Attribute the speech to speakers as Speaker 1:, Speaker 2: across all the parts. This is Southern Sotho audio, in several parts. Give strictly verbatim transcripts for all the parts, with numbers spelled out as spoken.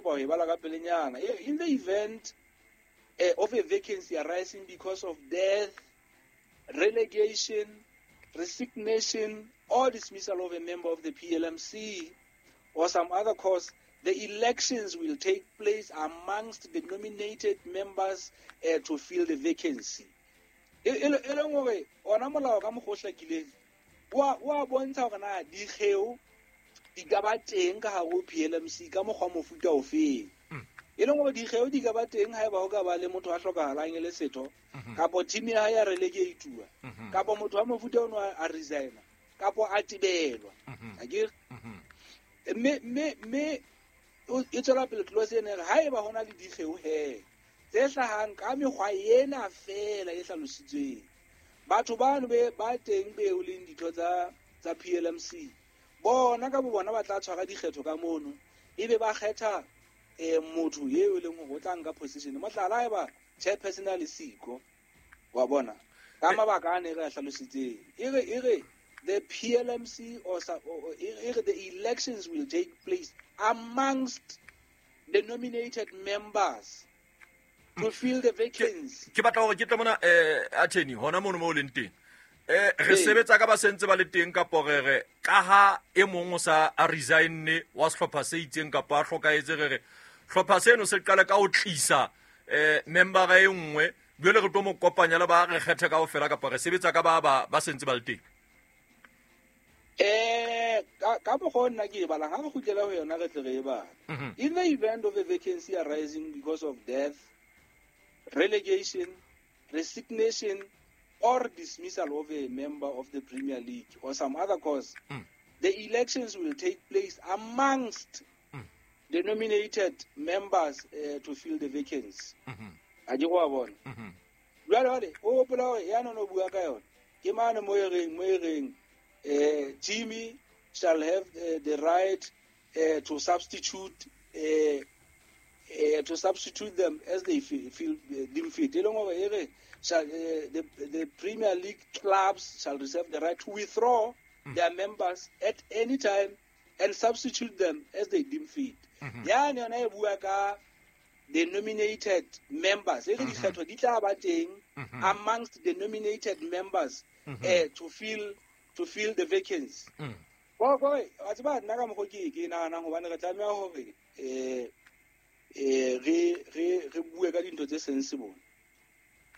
Speaker 1: kopa ho e bala ka pelenyana. In the event uh, of a vacancy arising because of death, relegation, resignation, or dismissal of a member of the P L M C or some other cause, the elections will take place amongst the nominated members uh, to fill the vacancy. E leng hore ona molao ka mokgwa o hlakileng wa wa bontsha hore na dikgeo di ka ba teng ka hare ho P L M C ka mokgwa mofuta ofeng. E leng hore dikgeo di ka ba teng haeba ho ka ba le motho a hlokahalang e le setho, kapo team ya hae ya relegate-uwa, kapo motho wa mofuta ono a resigna, kapo a tibelwa. Akere? Mme mme mme e tswela pele clause ena e re haeba hona le dikgeo he tse hlahang ka mekgwa ena feela e hlalositsweng, batho bano be ba teng be o leng ditho tsa tsa P L M C bona ka bo bona ba tla tshwara dikgetho ka mono, ebe ba kgetha eh motho eo e leng hore o tla nka position. Mohlala, haeba chairperson a le siko, wa bona ka mabaka a ne re a hlalositseng, e re e re the P L M C or, or, or the elections will take place amongst the nominated members to fill the vacancy.
Speaker 2: Ke batla hore ke tle mona eh attorney hona mono mo leng teng. Eh re sebetsa ka ba sentse ba le teng kapo re re ka ha e mong o sa a resigne wa sehlopha se itseng kapa a hlokahetse, re re hlopha seno se qala ka ho tlisa eh member e nngwe jwale re tlo mo kopanya le ba re kgethe kaofela kapa re sebetsa ka ba ba ba sentse ba le teng.
Speaker 1: Eh ka ka mokgwa nna ke e balang, ha re kgutlela ho yona re tle re e bala. In the event of a vacancy arising because of death, relegation, resignation, or dismissal of a member of the Premier League or some other cause, mm. the elections will take place amongst mm. the nominated members uh, to fill the vacancy. A ke go bona. Jwale jwale o hopola hore ya no no bua ka yona ke mane mo e reng mo e reng eh Jimmy shall have uh, the right uh, to substitute uh, uh, to substitute them as they feel, feel uh, deem fit. E leng hore e re shall uh, the the Premier League clubs shall reserve the right to withdraw mm. their members at any time and substitute them as they deem fit. Ya ne yona e bua ka the nominated members. E re dikgetho di tla ba teng amongst the nominated members uh, to fill to fill the vacancy. Go go wa tseba nna ka mokgo ke ke nahanang hobane re tlameha hore eh eh re re re bue ka dintho tse sensible.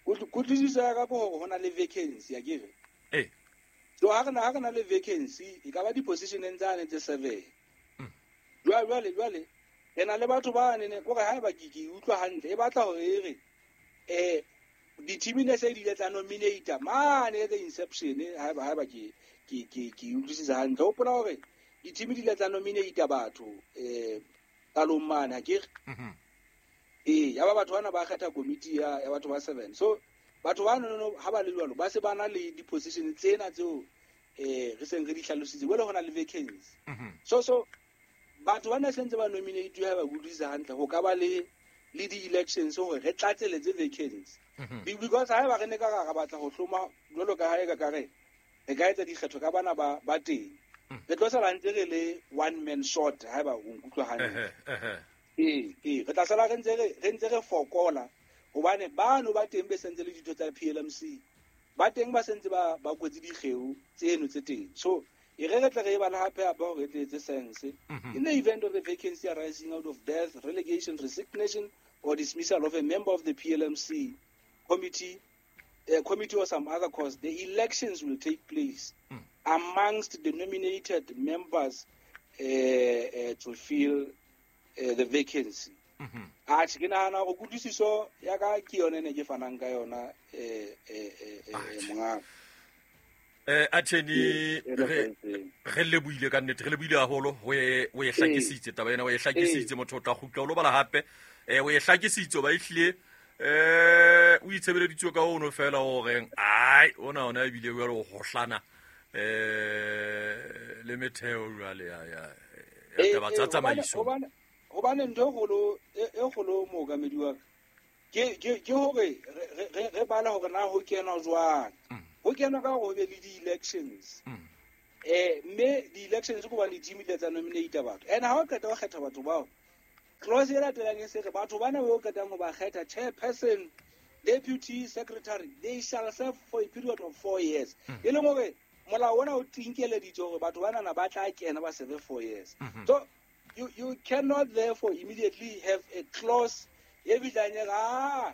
Speaker 1: Kutlwisiso ya ka ke hore hona le vacancy, akere?
Speaker 2: Eh.
Speaker 1: So ha re na ha re na le vacancy e ka ba di-positioneng tsane tse seven. Jwale jwale jwale re na le batho ba ne kore haeba ke ke utlwa hantle e batla hore e re eh di-team ne se di ile tsa nominate mane the inception, haeba haeba ke ke ke ke utlwisisa hantle. Hopola hore di-team di ile tsa nominate batho eh qalong mane, akere? Eh ya ba batho bana ba kgetha committee ya ya batho ba seven. So batho ba no ha ba le jwalo ba se ba na le di-position tsena tseo eh re seng re di hlalositse, jwale hona le vacancy. So so batho ba ne sentse ba nominate ha ba utlwisisa hantle ho ka ba le le di-elections hore re tlatseletse vacancy. Because haeba re ne ka ra batla ho hloma jwalo ka ha e ka ka re re ka etsa dikgetho ka bana ba ba teng, re tlo sala ntse re le one man short haeba o nkutlwa hantle. Eh eh re tla sala re ntse re re ntse re fokola hobane bano ba teng be sentse le ditho tsa P L M C ba teng ba sentse ba ba kwetse dikgeo tseno tse teng. So e re re tle re e bala hape hape hore e tle etse sense. In the event of a vacancy arising out of death, relegation, resignation, or dismissal of a member of the P L M C committee, uh, committee or some other cause, the elections will take place mm. amongst the nominated members uh, uh, to fill uh, the vacancy. Atjhe, ke nahana hore kutlwisiso ya ka ke yona ne ke fanang ka yona eh eh eh monga.
Speaker 2: Eh attorney re re lebohile ka nnete, re lebohile haholo ho e o e hlakisitse taba ena, o e hlakisitse motho o tla kgutla o lo bala hape eh o e hlakisitse ba ehlile eh o itshebeleditswe ka ono fela hore ai ona ona ebile jwale o hohlana eh le metheo jwale ya ya taba tsa tsamaiso.
Speaker 1: Hobane ntho e kgolo e kgolo mookamedi wa ka ke ke ke hore re re bala hore na ho kenwa jwang. Ho kenwa ka hore ho be le di-elections. Eh mme di-elections ke hobane di-team di tsa nominate batho. And ha o qeta ho kgetha batho bao, Clause e latelang e se re batho bana bo qetang ho ba kgetha chairperson, deputy secretary, they shall serve for a period of four years. E leng hore molao ona o tinkeleditse hore batho bana ba tla kena ba serve four years. So you you cannot therefore immediately have a clause e fihlang e re ah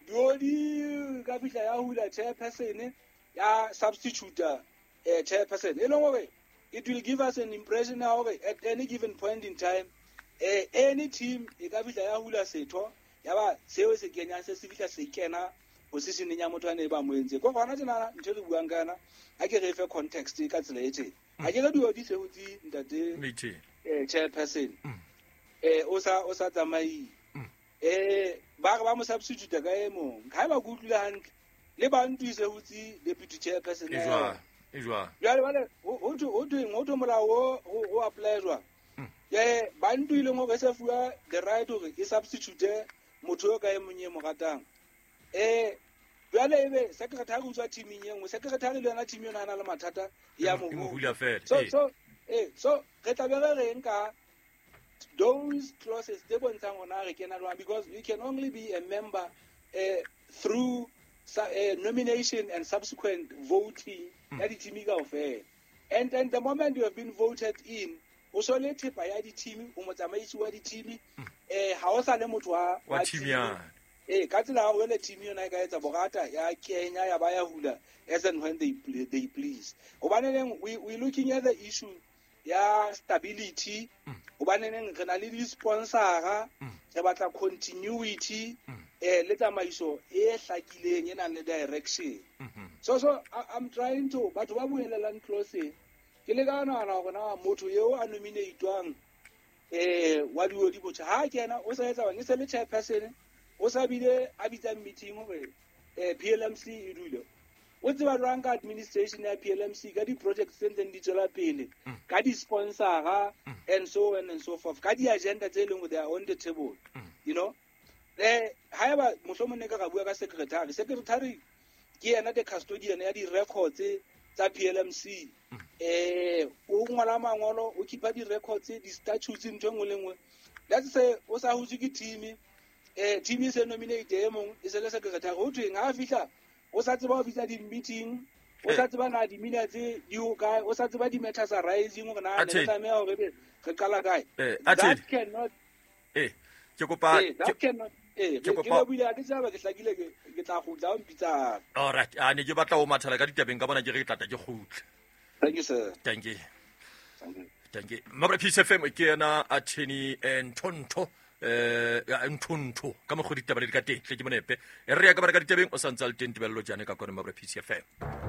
Speaker 1: diodi ka fihla ya hula chairperson ya substitute eh chairperson. E leng hore it will give us an impression ya hore at any given point in time eh any team e ka fihla ya hula setho ya ba seo se kenyang se se fihla se kena positioneng ya motho a ne ba mo entse. Ko gona tjena ntho re buang ka yona ha ke re fe context ka tsela e tjena. Ha ke re diodi se hotse ntate eh chairperson eh o sa o sa tsamaile eh ba re ba mo substitute ka e mong. Ha ba go utlwile hantle le ba ntwise hotse deputy chairperson
Speaker 2: e jwang e jwang.
Speaker 1: Jwale bale ho thwe ho thweng ho thwe molao o o apply jwang. Eh ba ntwile hore se fuwa the right hore e substitute motho yo ka e mong e mo ratang. Eh jwale ebe secretary o tswa teaming e nngwe, secretary le yona team yona a na le mathata ya mo
Speaker 2: hula fela.
Speaker 1: So so eh so re tla be re reng ka those clauses tse bontshang hona re kena jwang, because you can only be a member eh through uh, nomination and subsequent voting ya di-team kaofela. And and the moment you have been voted in, o so le thepa ya di-team, o motsamaisi wa di-team, eh ha o sa le motho wa
Speaker 2: wa team ya
Speaker 1: eh ka tsela ya hore team yona e ka etsa borata ya kenya ya ba ya hula as and when they they please. Hobaneng we we looking at the issue ya stability, hobaneng re na le di-sponsor, re batla continuity eh le tsamaiso e hlakileng e nang le direction. So so I, I'm trying to batho ba buelelang clause ke le ka nahana hore na motho eo a nominatewang eh wa diodi botjha ha kena o sa etsa bang e se le chairperson o sa bile a bitsang meeting hore eh P L M C e dule. O tseba jwang ka administration ya P L M C ka di-projects tse ntseng di tswela pele ka di-sponsor and so on and so forth ka di-agenda tse leng they are on the table, you know. Eh haeba mohlomong ne ka ra bua ka secretary, secretary ke yena the custodian ya di-records tsa P L M C. Eh o ngola mangolo, o keepa di-records, di-statutes, ntho e nngwe le nngwe. Let's say o sa hutswe ke team, eh team e se nominate e mong e se le secretary, ho thweng ha fihla o sa tseba ho bitsa di-meeting, o sa tseba na di-minutes di ho kae, o sa tseba di-matters arising hore na ne re tlameha hore ebe re qala kae. That cannot
Speaker 2: eh ke kopa
Speaker 1: that cannot eh ke le buile ke tsaba ke hlakile ke ke tla kgutla o mpitsa.
Speaker 2: All right, a ne ke batla ho mathala ka ditabeng ka bona ke re ke tlatla ke kgutle.
Speaker 1: Thank you sir.
Speaker 2: Thank you.
Speaker 1: Thank you.
Speaker 2: Thank you. Mabra Peace F M ke yena attorney Nthonto eh Nthonto ka mokgo ditaba di ka teng tle ke monepe e re ya ka bara ka ditabeng o santse le teng tebello jane ka kone Mabra Peace F M.